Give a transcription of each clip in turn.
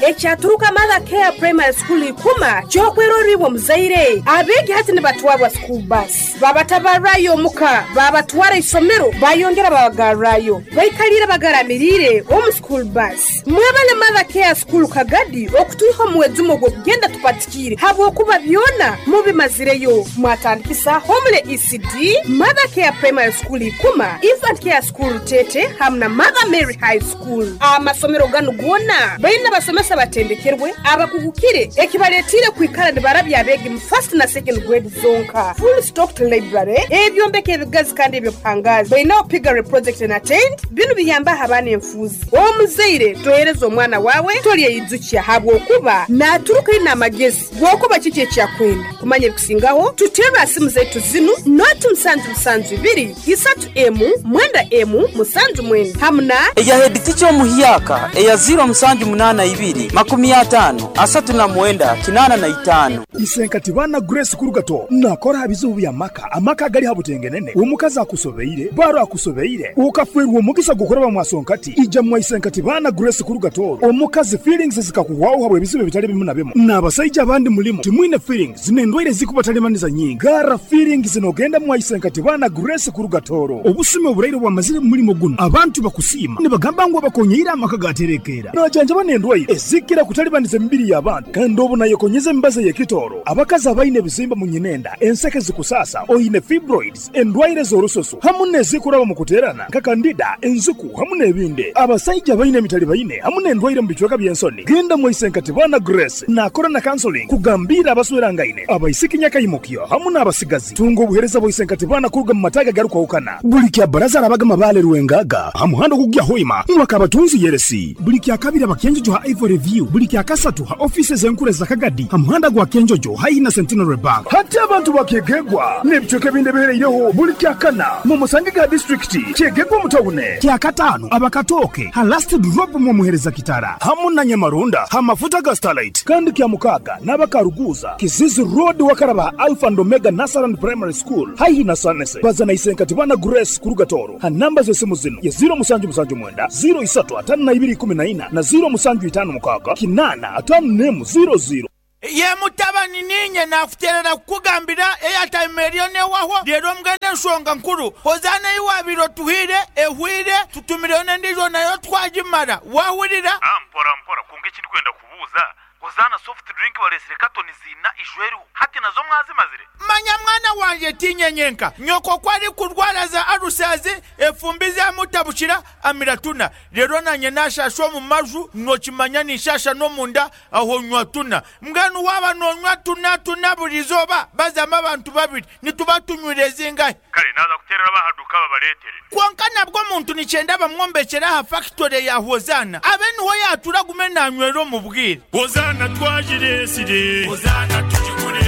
Ekyaturuka Mother Care Primary School Ikuma ky'okwerorra iwe omuzaire. Abeegi hati nibatwarwa school bus, babatabarrayo omuka, babatwara isomero, bayongera babagarrayo. Baikaliire bagaramiriire omu school bus. Mwebale Mother Care School Kagadi okutwiha omu mwejumo ogw'okugenda tupatikiire habwokuba byona mubimazireyo. Mwatandikisa Homely ECD, Mother Care Primary School Ikuma, Infant Care School Rutete hamu na Mother Mary High School. Amasomero ganu goona baine abasomesa abatendekerwe, abakugukire ekibaletiire kwikara nibarabya abeegi mu first na second grade zonka. Full stocked library, ebyombeko ebigazi kandi eby'obuhangaazi. Baineho piggery project na tent, binu biyambaho abaana enfuuzi. Omuzaire tohereza omwana waawe tolyeyijukya habwokuba naaturuka aine amagezi g'okuba kiki eki akwenda. Kumanya ebikusingaho, tuterre ha simu zaitu zinu, noti musanju musanju ibiri, isatu emu, mwenda emu, musanju mwenda hamu na. Eya headteacher omuhyaka eya ziro musanju munana ibiri, makumi atano, asatu na mwenda, kinana na itano. Isenkati baana Grace Kurugato nakora ha bizibu bya maka, amaka agali ha butengenene, omukazi akusobeire, baro akusobeire, okafwerwa omugisa gw'okuraba mwasonkati, ija mwa Isenkati baana Grace Kurugato, omukazi feelings zikakuhwaho habwa ebizibu ebitali bimu na bimu. N'abasaija abandi mulimu timwine feelings n'endwaire zikubatalimaniza nyingi. Gara feelings n'ogenda mwa Isenkati baana Grace Kurugatoro. Obusumi oburaire bwamazire mu mulimo guno, abantu bakusiima nibagamba ngu abakonyeire amaka gaterekeera. Najanjaba n'endwaire ezikira kutalibaniza emibiri y'abantu, kandi obu nayekonyeza emibazi ey'ekitooro. Abakazi abaine ebizimba mu nyinenda, enseke zikusasa, oine fibroids, endwaire z'orususu hamu n'ezikuraba mu kuteerana nka kandida, enziku hamu n'ebindi. Abasaija abaine emitalibaine hamu n'endwaire mu bicweka by'ensoni, genda mwa Isenkati baana Grace nakora na counseling kugambiira abaswerangaine, abaisiki nyakaimukyo hamu n'abasigazi. Tunga obuheereza bwa Isenkati baana kuruga mu mataagi agarukwahukana. Buli kya baraza arabaga Mabale Rwengaga ha muhanda ogukugya Hoima mwaka abatunzi Yeresi. Buli kya kabiri aba Kyenjojo ha Ivory View. Buli kya kasatu ha ofiisi ez'enkuru eza Kagadi ha muhanda gwa Kyenjojo haihi na Centenary Bank. Hati abantu ba Kyegegwa n'ebicweka ebindi ebihereireho buli kya kana mumusange ga disiturikiti Kyegegwa omu tawune. Kya kataano aba Katooke ha Last Drop mwomuhereza Kitara hamu na Nyamarunda ha mafuta ga Starlight. Kandi kya mukaaga n'aba Karuguuza, Kizizi Road wakaraba ha Alpha and Omega Nursery and Primary School haihi na Sanese. Baza na Isenkati Bana Grace kuruga Tooro ha namba z'esimu zinu ye ziro musanju musanju mwenda, ziro isatu atano na ibiri ikumi na ina na ziro musanju itano mukaaga kinaana atano n'emu ziro ziro. Ye mutabani, niinye naakuteerera kukugambira eyataima eriyo n'ehwaho. Reero mbwenu enshonga nkuru, Hozaana ei waabaire otuhaire ehwaire, tutumireyo n'endiijo nayo twagimara. Waahurira? Mpora mpora, kwonka eki ndikwenda kubuuza, Hozaana soft drink bareetsire katoni ziina ijo eriho, hati nazo mwazimazire? Manya mwana wangye, tiinye nyenka. Nyoko ku arikurwara za alusazi, efumbi zamutabukira, amira tuna. Reero naanye naashaasha omu maju, nookimanya ninshaasha n'omunda, aho nywa tuna. Mbwenu waaba noonywa tuna tuna buri izooba, bazamu abantu babiri, nituba tunywire zingahi? Kare naaza kuteerera ab'aha duuka babareetere. Kwonka nabwo omuntu nikyenda bamwombekyere aha fakitore ya Hozaana, abe niho yaatuura agume naanywera omu bwire. Hozaana twagireetsire. Hozaana tugigure.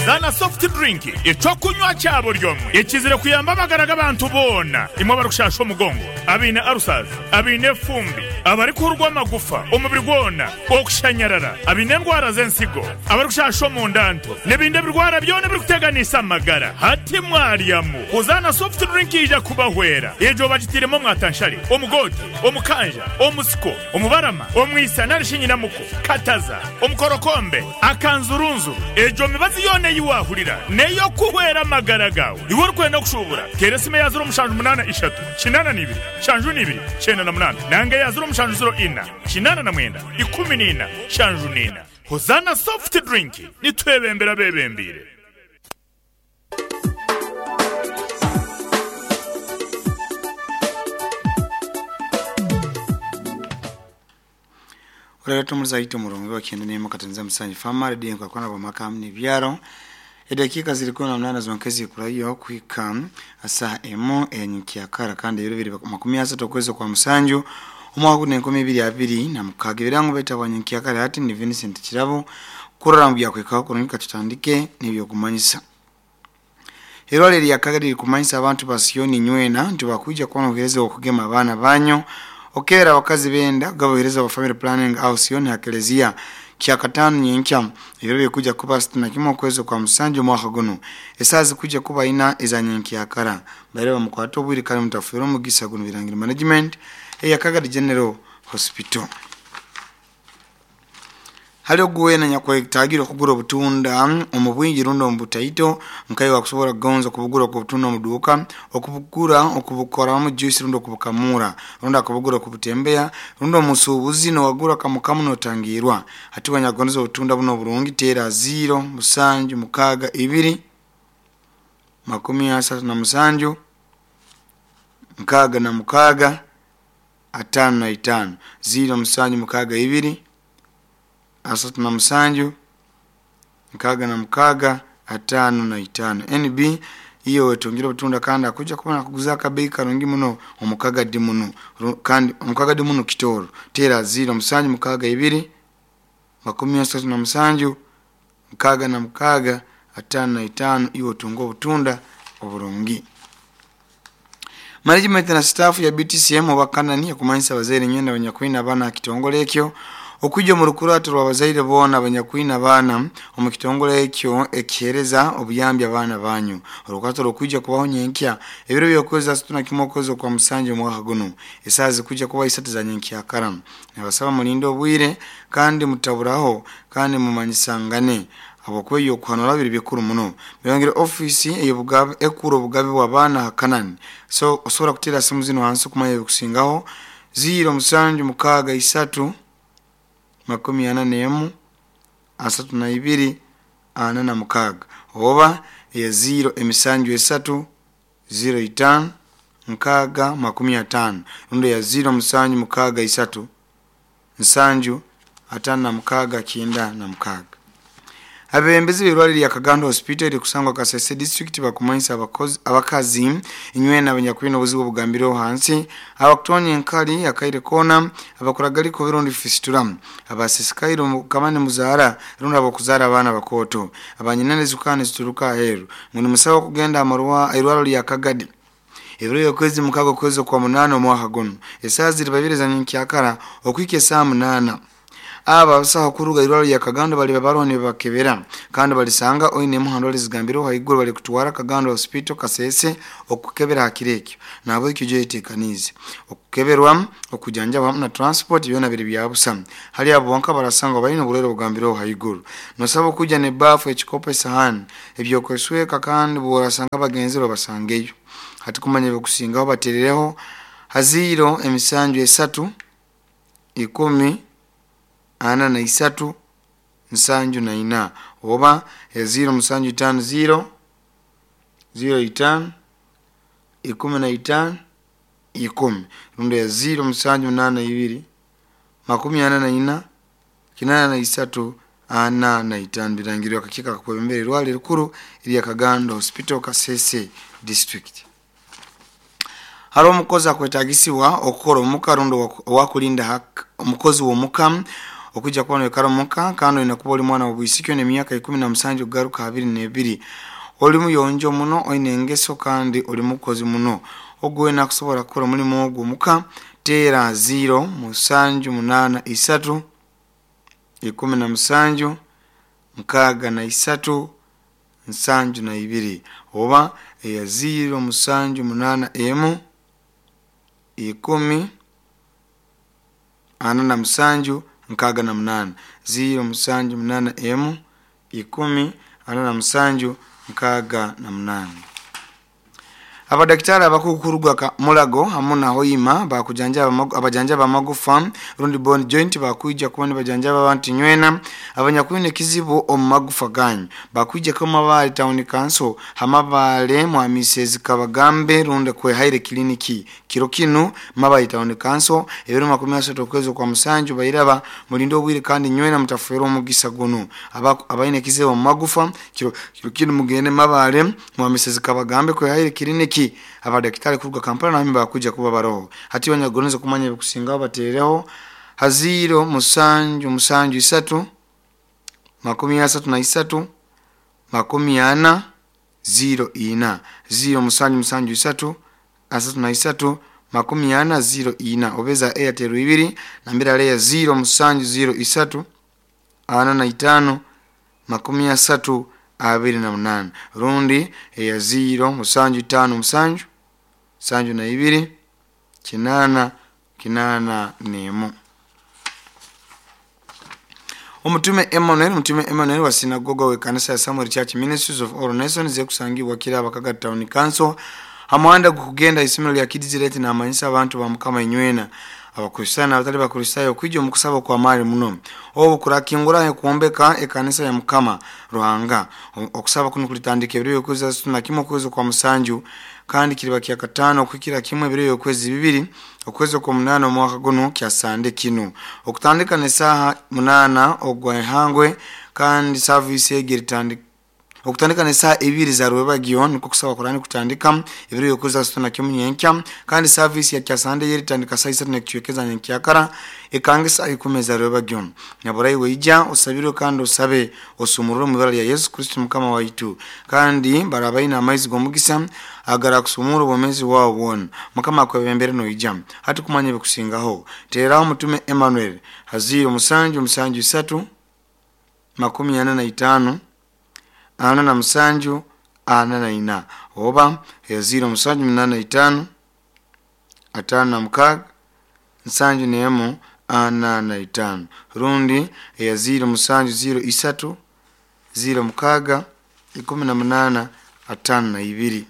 Zaana soft drink, eky'okunywa kya buri omwe ekizire kuyamba amagara g'abantu boona, imwe abarikushasha omugongo, abaine ulcers, abaine efumbi, abarikuhurwa amagufa omubiri gwona, okushanyarara, abaine endwara z'ensigo, abarikushasha omunda nto, n'ebindi ebirwara byona ebirikuteganisa amagara. Hati mwaryamu, Hozaana soft drink yaija kubahwera. Egyo bagitairemu omwatanshare, omugoote, omukanja, omusiko, omubarama, omwisa nari shi nyinamuko, kataza, omukorokombe, akanzurunzuru. Egyo mibazi yoona ei waahurira n'ey'okuhwera amagara gaawe. Iwe orikwenda kushuubura, teera esimu eya ziro mushanju munaana ishatu, kinaana na ibiri, nshanju na ibiri, kyenda na munaana nanga eya ziro mushanju ziro ina, kinaana na mwenda, ikumi na ina, nshanju na ina. Hozaana Soft Drink, nitwebembera abeebembeire. Olero tumuzaito omurungi wa kyenda n'emu katonza musanju Fama Radio enkwakurana bw'amaka hamu n'ebyaro. Edakiika ziri kumi na munaana zonka ezikurayo kuhika saaha emu eyanyenkyakara kandi ebiro biri makumi asatu okwezi okwa musanju omwaka gunu enkumi ibiri abiri na mukaaga. Ebirango baita bwa nyenkyakara hati ni Vincent Kirabo kurora ngu byakwikaho kurungi katutandike n'ebyokumanyisa. Erwaliro erya Kagadi ririkumanyisa abantu ba Sioni nywena nti bakwija kubona obuhereza obw'okugema abaana banyu, okukebera abakazi b'enda, kugaba obuhereza bwa family planning aho Sioni ha Kelezia. Kyakataano nyenkya, ebiro birikwija kuba asatu na kimwe okwezi okwa musanju omwaka gunu. Esaaha zikwija kuba ina eza nyenkyakara. Mbaire bamukwate obwire kandi mutafuirwa omugisa gunu Birangiro Management eya Kagadi General Hospital. Hali oguwena nyakwetagire okugura obutunda omu bwingi rundi omu butaito, nkaiwe akusobora kugonza okubugura okubutunda omu duuka, okubugura okubukoramu juice rundi okubukamura, rundi akubugura okubutembeya, rundi omusuubuzi nowagura kamukamu notangirwa. Hati wanyakugondeza obutunda buno oburungi teera 0 7 6 2 37 66 55 0 7 6 2 37 66 55. NB iyo wetungire obutunda kandi akuja kuba nakuguza akabei karungi muno omukagadi muno kandi omukagadi muno kitoro tera 0 7 6 2 37 66 55 iwe otunga obutunda oburungi. Management na staff ya BTCM oba Kanani ekumanyisa abazaire nywena abanyakwine abaana aha kitongole ekyo okwija omu rukurato rw'abazaire boona abanyakwine abaana omu kitongole ekyo ekiheereza obuyambi abaana banyu. Orukurato rukwija kubaho nyenkya ebiro by'okwezi 31 okwezi okwa musanju omwaka guno, esaaha zikwija kuba 3 za nyenkyakara. Nabasaba mulinde obwire kandi mutaburaho kandi mumanyisangane habwokuba ebyokuhanura biri bikuru muno. Birangire ofiisi ey'obugabe ekura obugabe bw'abaana ha Kanani. So osobola kuteera simu zinu hansi okumanya ebikusingaho 0 7 6 3 41 32 46 oba eya 0 7 3 05 6 50 rundi eya 0 7 6 3 7 56 96. Abebembezi b'irwaliro lya Kagando Hospital erikusangwa Kasese district bakumanyisa abakazi inywena abanyakwine obuzibu obugambireho hansi, abakutonya enkali akaire koona, abakuragalika rundi fistula, abasisikaire kamani muzaara rundi abokuzaara abaana bakooto, abanyinene zikukana nizituruka aheeru. Ngu nimusaba okugenda irwaliro lya Kagadi ebiro by'okwezi 6 okwezi okwa 8 omwaka guno, esaaha ziri 2 za nyenkyakara okuhika esaaha 8. Aba abasaho kuruga irwaliro lya Kagando baliba baroho nibabakebera kandi balisanga oine emuhando zigambireho haiguru bali kutwara Kagando Hospital Kasese okukebera hakiro ekyo. Nahabwekyo ojye oyeteekaniize okukeberwa, okujanjaba hamu na transport byona biri bya busa. Hali abo bonka barasangwa baine oburwaire obugambireho haiguru. Nosaba okujja n'ebaafu, ekikopo, esahani, ebyokwesweka kandi bworasanga bagenzi babasangeyo. Hati kumanya ebikusingaho baterereho ha 0 7 3 10 43 74 oba 0 7 5 0 0 5 15 10 rundi ya 0 7 8 2 44 83 45. Birangirwa akakiiko akakwebembera irwaliro erikuru erya Kagando Hospital Kasese district. Hariho omukozi akwetagisibwa okukora omuka rundi owakulinda omukozi w'omuka okujja kuba noikara omuka kandi oine kuba oli mwana w'obwisiki oine emyaka 17 kugaruka 22, oli muyonjo muno, oine engeso kandi oli mukozi muno. Ogu wena akusobora kukora omulimu ogwo omuka teera 0 7 8 3 17 63 72 oba eya 0 7 8 1 10 47 68 0 7 8 1 10 47 68. Abadaktari abakukuruga Mulago hamu na Hoima abajanjaba amagufa rundi bone joint bakwija kuba nibajanjaba abantu nywena abanyakwine ekizibu omu magufa ganyu. Bakwija ko Mabale Town Council hamabale mwamisezi kabagambe rundi kwehaire kliniki kiro kinu Mabale Town Council ebiro 30 okwezi kwa musanju bairaba mulinde obwire kandi nywena mutafera omugisa guno. Abaine ekizibu omu magufa kiro kinu mugende Mabale mwamisezi kabagambe kwehaire kliniki. Abadaktari kuruga Kampala nami bakuja kuba baroho. Hati wanyagoneza kumanya ebikusingaho batereho ha 0 7 7 3 33 40 0 4 0 7 7 3 33 40 0 4 obeza Airtel 2 nambira leya 0 7 0 3 45 30 28 rundi eya 0 7 5 7 72 8 8 1. Omutume Emmanuel, Omutume Emmanuel wa sinagoga w'ekanisa ya Samuel Church Ministries of All Nations ekusangibwa Kiraba Kagadi Town Council ha muhanda gukugenda isomero lya Kids Rate, namanyisa abantu ba Mukama inywena Abakristaayo n'abatali Bakristaayo okwija omu kusaba okw'amaani muno obu kurakinguraho kwombeka ekanisa ya Mukama Ruhanga. Okusaba kunu kulitandika ebiro by'okwezi 31 okwezi okwa musanju, kandi kiriba kyakataano okuhikira kimu ebiro by'okwezi 2 okwezi okw'omunaana omwaka gunu kya Sande kinu, okutandika n'esaaha 8 ogwa ihangwe, kandi saavisi egi eritandika okutandika n'esaaha 2 za rwebagyo. Nukwo kusaba kurani kutandika ebiro by'okwezi 31 nyenkya, kandi saavisi ya kyasande yeritandika saa 3 n'ekicwekeza nyenkyakara, ekange saa 10 za rwebagyo. Naburayi ija osabirwe kandi osabe osumurure omu ibara lya Yesu Kristo Mukama waitu, kandi barabaine amaizi g'omugisa agarakusumura obwomeezi bwawe bwona. Mukama akwebembere noija hati. Kumanya ebikusingaho, teeraho Omutume Emmanuel ha 077 345 47 44 oba 0785 56 71 45, rundi eya 0703 06 18 52.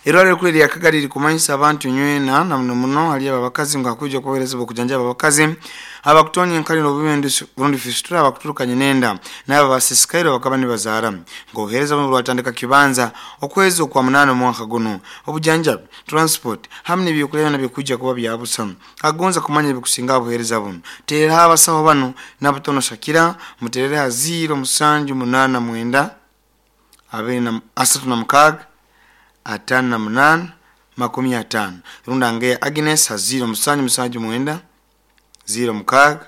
Irwaliro rikuru erya Kagadi ririkumanyisa abantu nywena, na muno muno hali abo abakazi, ngu hakwija okubahereza okujanjaba abakazi abakutonya enkaliro obubi rundi fistula, abakuturukanye nenda, n'abo abasisikaire bakaba nibazaara, ngu obuheereza bunu bwatandika kibanza okwezi okwa munaana omwaka gunu. Obujanjabi, transport hamu n'ebyokulya byona bikwija kuba bya busa. Agonza kumanya ebikusinga aha buheereza bunu, teeraho abasaho banu Nabutono Shakira, muterere ha 0789 36 58 50, rundi Angeya Agnes ha 0779 06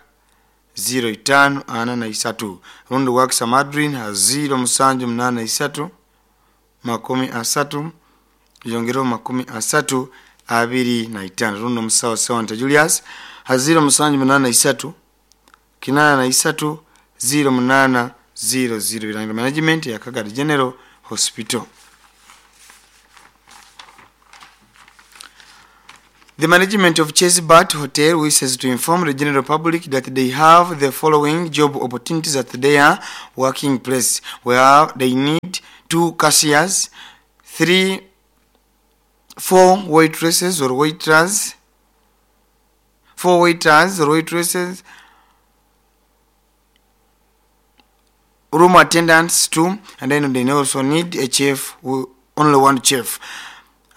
05 43, rundi Wakisa Madrin ha 0783 30 yongereho 30 25, rundi omusawo Sewanta Julius ha 0783 83 08 00. Birangiro Management ya Kagadi General Hospital. The management of Chesbert Hotel wishes to inform the general public that they have the following job opportunities at their working place, where they need 2 cashiers, 3, 4 waitresses or waiters, 4 waiters or waitresses, room attendants 2, and then they also need a chef, only one chef.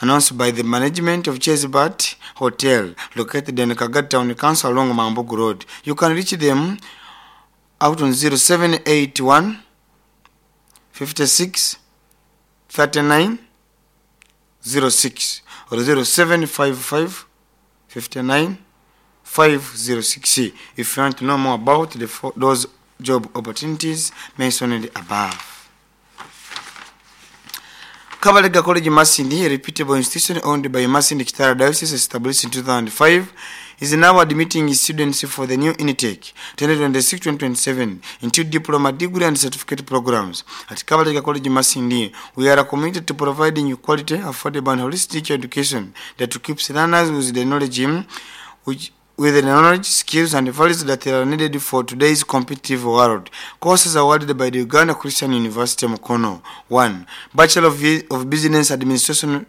Announced by the management of Chesbert Hotel, located in Kagadi Town Council along Mambugu Road. You can reach them out on 0781 56 39 06 or 0755 59 506 if you want to know more about those job opportunities mentioned above. Kabalega College Masindi, a reputable institution owned by Masindi Kitara Diocese, established in 2005, is now admitting students for the new intake 2026-2027 into diploma, degree and certificate programs. At Kabalega College Masindi, we are committed to providing quality, affordable and holistic education that keeps learners with the knowledge with the knowledge, skills and values that are needed for today's competitive world. Courses awarded by the Uganda Christian University Mukono. 1. Bachelor of Business Administration,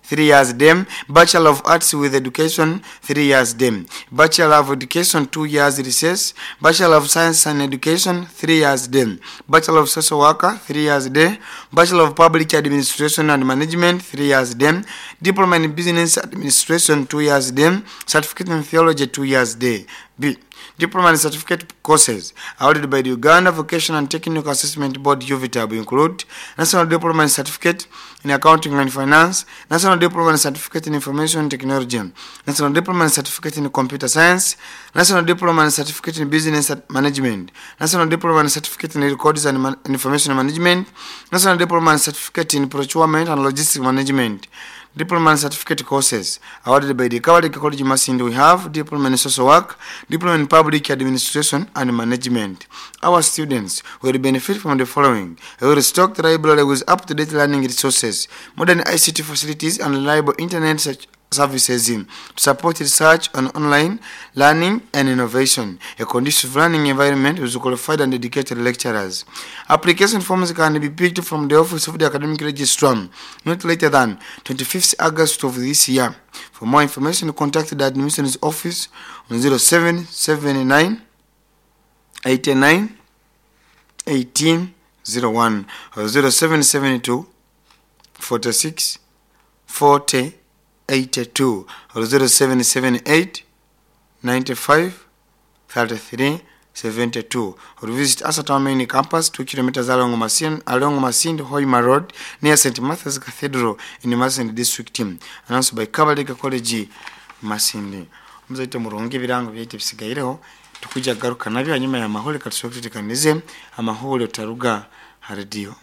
3 years dem. Bachelor of Arts with Education, 3 years dem. Bachelor of Education, 2 years recess. Bachelor of Science and Education, 3 years dem. Bachelor of Social Worker, 3 years day. Bachelor of Public Administration and Management, 3 years dem. Diploma in Business Administration, 2 years dem. Certificate in Theology, 2 years day. B. Diploma and certificate courses awarded by the Uganda Vocational and Technical Assessment Board UVTAB include National Diploma and Certificate in Accounting and Finance, National Diploma and Certificate in Information Technology, National Diploma and Certificate in Computer Science, National Diploma and Certificate in Business Management, National Diploma and Certificate in Records and Information Management, National Diploma and Certificate in Procurement and Logistics Management. Diploma and certificate courses awarded by the Kabalega College Masindi, we have Diploma in Social Work, Diploma in Public Administration and Management. Our students will benefit from the following: a well-stocked library with up-to-date learning resources, modern ICT facilities and reliable internet services to support research on online learning and innovation, a conducive learning environment with qualified and dedicated lecturers. Application forms can be picked from the office of the academic registrar not later than 25th August of this year. For more information, contact the admissions office on 0779 89 1801 or 0772 46 40 82 or 0778 95 33 72 or visit us at our main campus 2 kilometers along Masindi Hoima Road near St. Matthew's Cathedral in Masindi District. Announced by Kabalega College Masindi. Muzaite murungi birango byaite bisigaireho tukuja garuka nabyo hanyuma ya mahole katusokutikanize amahole utaruga radio.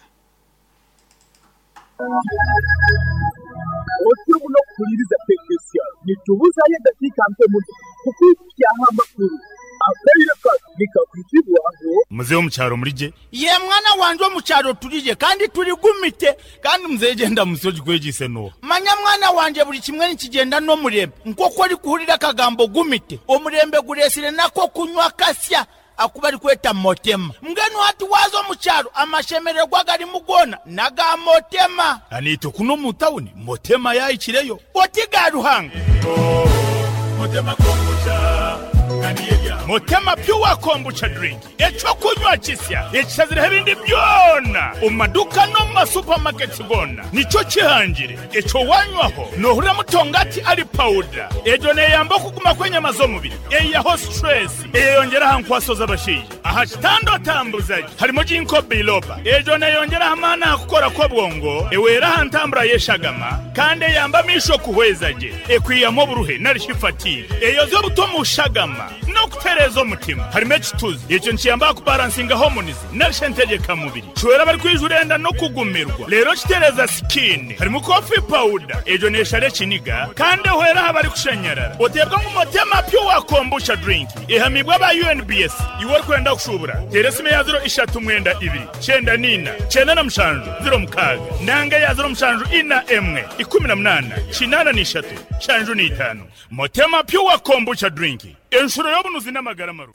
Otyo muno kuhuliriza tekinisiya nitubuzayo eddakiika mpe muno kukwikyaho amakulu akaire kano nikakwitibwaho. Muzehe omukyaro murije? Ye mwana wanje, omukyaro turije kandi turigumite. Kandi muzehe genda musoji kwegise no. Manya mwana wanje, buli kimwe nikigenda n'omurembe nk'oku orikuhurira akagambo gumite. Omurembe guresire nako kunywa kasya akuba arikweta motema. Mbwenu hati waza omukyaro amashemererwa garimu gona naga motema. Anito kuno mu tawuni motema yayikireyo. Oti ga Ruhanga. Motema kombucha. Motema pure kombucha drink, ekyokunywa kisya ekishazireho ebindi byona omu maduka no mu masupamaketi gona nikyo kihangire. Ekyo wanywaho nohurira mutongati ali pawuda. Egyo neyamba okuguma kw'enyama z'omubiri, eyaho stress, eyeyongera aha nkwaso z'abashaija aha kitanda otambuzaje. Harimo ginkgo biloba, egyo neyongera amaani aha kukora kw'obwongo, ewera aha ntambura y'eshagama kandi eyamba amisho kuhweza gye, ekwiyamu oburuhe narishi fatigue, eyoza obuto mu shagama n'okutereeza omutima. Harimo ekituzi, ekyo nikiyamba kubalansinga hormones narishi entegekamubiri, kiwera abari enda no kugumirwa, rero kitereza skin. Harimo coffee powder, egyo neshara ekiniga kandi ehwera aha bari kushanyarara. Oteebwa ngu Motema pure kombucha drink ehamibwa aba UNBS. Iwe orikwenda kushubura, tera esimu ya 039 94 97 06 nanga ya 0741 18 83 75. Motema pure kombucha drink, enshuro y'obunuzi n'amagara maru.